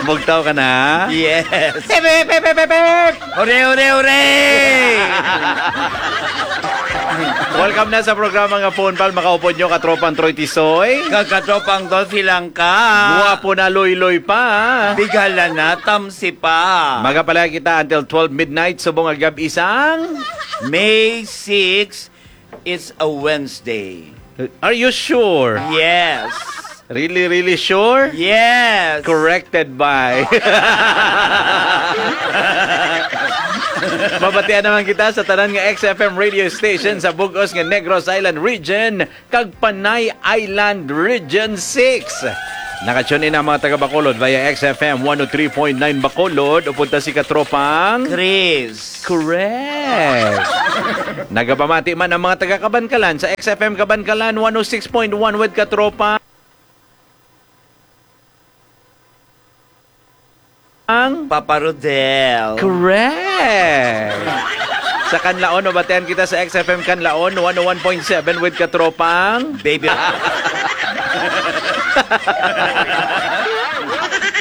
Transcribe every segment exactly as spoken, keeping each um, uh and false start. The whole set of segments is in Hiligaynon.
Bugtaw ka na? Yes. Hip, hip, hip, hip, hip, hip! Hooray, hooray, hooray! Welcome na sa programa nga Phone Pal. Makaupod nyo, katropang Troy Tisoy. Kag katropang Dolphy lang ka. Guwapo na, loy-loy pa. Bigala na, tamsi pa. Magapalaya kita until twelve midnight, subong nga gab-i sang May six, it's a Wednesday. Are you sure? Yes. Really, really sure? Yes. Corrected by. Mabatian naman kita sa tanan nga X F M radio station sa bug-os nga Negros Island Region kag Panay Island Region six. Naka-tune in ang mga taga Bacolod via X F M one oh three point nine Bacolod, upod ta si Katropang Chris. Correct. Nagapamati man ang mga taga Kabankalan sa X F M Kabankalan one oh six point one with Katropang Papa Rodel. Correct. Sa Kanlaon, mabatian kita sa X F M Kanlaon one oh one point seven with Katropang Baby.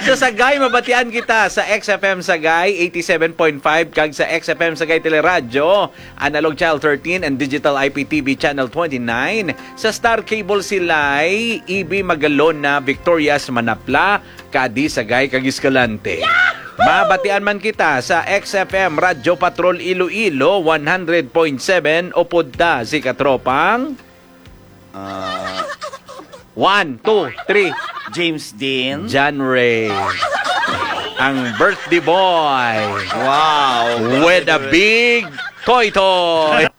Sa Sagay, mabatian kita sa X F M Sagay eighty-seven point five kag sa X F M Sagay Teleradyo, Analog Channel thirteen and Digital I P T V Channel twenty-nine. Sa Star Cable Silay, E B Magalona, Victorias, Manapla, Cadiz, Sagay kag Escalante. Mabatian man kita sa X F M Radyo Patrol Iloilo one hundred point seven, upod ta si Katropang Ah, one, two, three. James Dean. John Ray. Ang birthday boy. Wow. With a big toy toy.